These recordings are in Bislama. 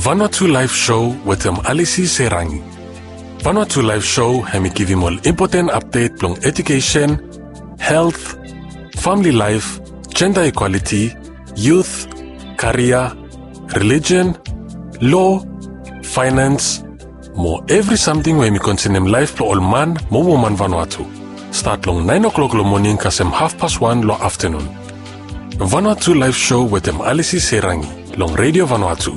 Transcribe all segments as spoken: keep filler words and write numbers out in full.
Vanuatu Live Show wetem Alisi Serangi. Vanuatu Live Show hemi givim ol impoten apdet blong edukesen, helt, famili laef, jenda ikwaliti, yut, karia, relijen, lo, faenans, mo evri samting we hemi konsenem laef blong ol man mo woman Vanuatu. Stat long naen o'klok long moning kasem hafpas wan long aftanun. Vanuatu Live Show wetem Alisi Serangi long Redio Vanuatu,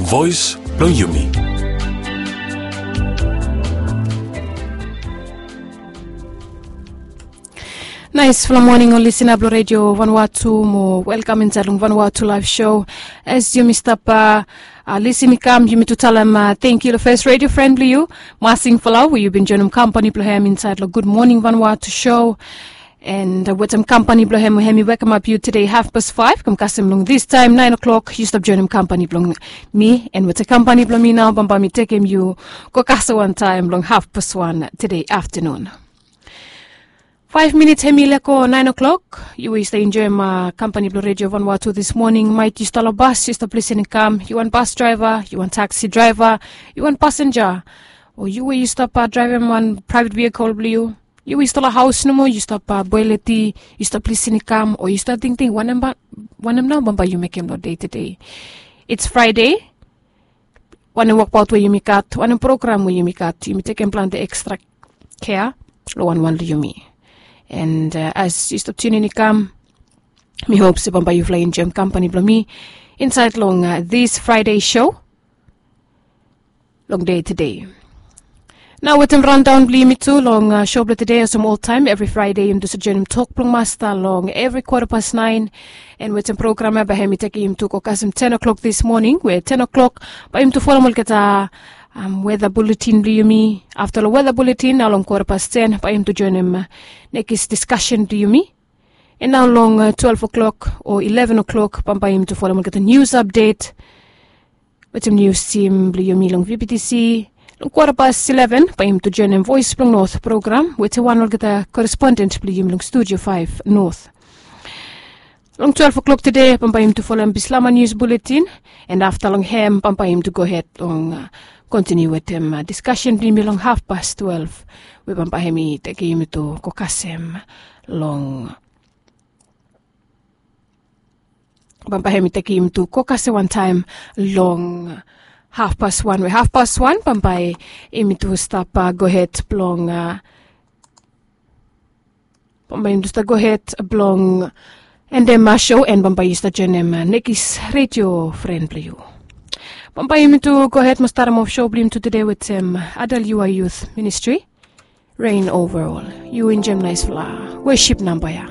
voes blong yumi. Naesfala moning ol lisina blong Redio Vanuatu mo welkam insaed long Vanuatu Live Show. As yumi stap lisin i kam, yumi tu talem tangkiu long fes redio fren blong yu, Masing Folau, we yu bin joenem kampani blong hem insaed long Gud Moning Vanuatu Show. And wetem kampani blong hem we hemi wekemap yu tede hafpas faef kam kasem long distaem naen o'klok yu stap joenem kampani blong mi. And wetem kampani blong mi nao bambae mi tekem yu go kasem wantaem long hafpas wan tede aftanun. Faef minits hemi lego naen o'klok. Yu we yu stap enjoem kampani blong Redio Vanuatu dis moning, maet yu stap long bas, yu stap lisin i kam, yu wan bas draeva, yu wan taksi draeva, yu wan pasenja, o yu we yu stap draevem wan praevet vihikol blong yu, yu we yu stap long haos nomo, yu stap boel ti, yu stap lisin i kam, o yu stap tingting wanem nao bambae yu mekem long dei tede. Its Fraede, wanem wokbaot we yumi gat, wanem program we yumi gat, yumi tekem plante ekstra kea long wanwan long yumi. And as yu stap tiunin i kam, mi hop se bambae yufala enjoem kampani blong mi insaed long dis Fraede show long dei tede. Nao wetem randaon blong yumi tu long show blong tede, olsem oltaem evri Fraede yumi tu save joenem tok blong Masta long evri kwata pas naen. And wetem program ya bae hemi tekem yumi tu go kasem ten o'klok dis moning, we ten o'klok bae yumi tu folem olgeta weta buletin blong yumi. Afta long weta buletin nao long kwata pas ten bae yumi tu joenem nekis diskasen blong yumi. And nao long twelef o'klok o ileven o'klok bambae yumi tu folem olgeta nius apdet wetem nius tim blong yumi long V B T C. Long kwata pas ileven bae yumi tu joenem Voes blong Not program wetem wan olgeta koresponden blong yumi long Studio faef Not. Long twelef o'klok tede bambae yumi tu folem Bislama nius buletin. And afta long hem bambae yumi tu gohed long kontiniu wetem diskasen blong yumi long hafpas twelef, we bambae hemi tekem yumi tu go kasem long bambae hemi tekem yumi tu go kasem wantaem long hafpas wan, we hafpas wan bambae yumi tu stap gohed blong bambae yumi tu stap gohed blong endem show, and bambae yu stap joenem nekis redio fren blong yu. Bambae yumi tu gohed mo starem of show blong yumi tu tede wetem Adal Yua Youth Ministry, Reign Over All. Yu enjoem naesfala wosip namba ya.